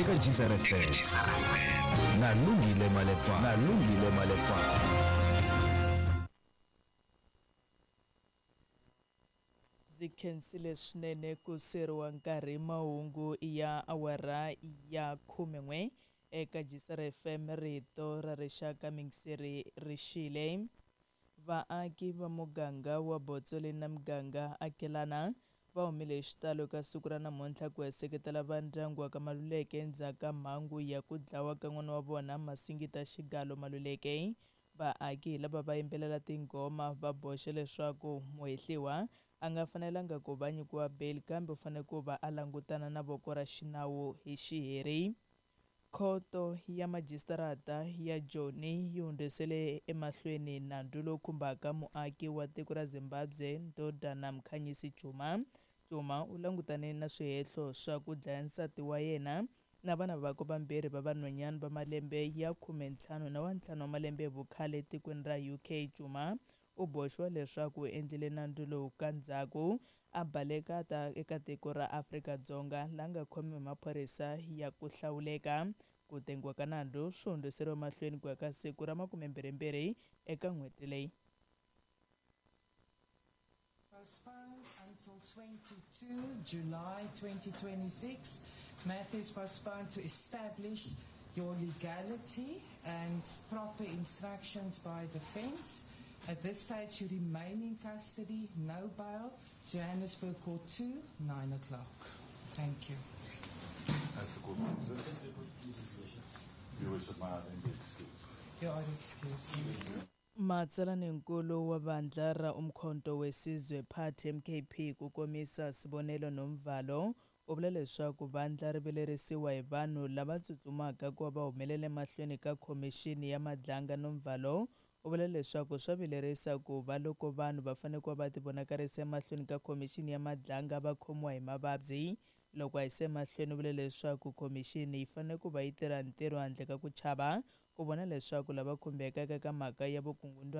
Eka Geyser FM na Lungile Malepa, na Lungile Malepa. Ndzi khensile swinene ku seriwa nkarhi. Mahungu ya awara ya 11 eka Geyser FM, rito ra rixaka. Mingiseri rixile. Vaaki va muganga wa Botsweleni na muganga akelana va humile hi xitalo ka siku ra namuntlha ku ya seketela va ndyangu wa ka Maluleke endzhaku ka mhangu ya ku dlawa ka n'wana wa vona Masingita Xigalo Maluleke. Vaaki hi lava va yimbelela tinghoma, va boxa leswaku muhehliwa a nga fanelanga ku va nyikiwa bail, kambe u fanele ku va a langutana na voko ra xinawu hi xiheri. Khoto ya majisitarata ya Joni yi hundzisele emahlweni nandzu lowu khumbaka muaki wa tiko ra Zimbabwe Ndodana Mkhanyisi Chuma. Chuma u langutane na swihehlo swa ku dlaya nsati wa yena na vana vakwe vambirhi va vanhwanyana va malembe ya 15 na wa 5 wa malembe hi vukhale etikweni ra UK. Chuma u boxiwa leswaku u endlile nandzu lowu ka ndzhaku a baleka ta eka tiko ra Afrika-Dzonga, la nga khomiwa hi maphorisa ya ku hlawuleka. Ku tengiwa ka nandzu swi hundziseriwa mahlweni ku ya ka siku ra 22 eka n'hweti leyi. Postponed until 22 July 2026. Matter is postponed to establish your legality and proper instructions by defense. At this stage, you remain in custody, no bail. Johannesburg Court 2, 9 o'clock. Thank you. As the court pleases. Your Worship, may I then be excused? You are excused. Matsalaninkulu wa vandla ra Umkhonto weSizwe Party, MKP, ku komisa Sibonelo Nomvalo, u vula leswaku vandla ri vilerisiwa hi vanhu lava tsutsumaka ku va va humelela emahlweni ka khomixini ya Madlanga. Nomvalo u vula leswaku swa vilerisa ku va loko vanhu va fanele ku va va tivonakarisa emahlweni ka khomixini ya Madlanga va khomiwa hi mavabyi. Loko a yisa emahlweni, u vule leswaku khomixini yi fanele ku va yi tirha ntirho handle ka ku chava, ku vona leswaku lava khumbekaka ka mhaka ya vukungundwani.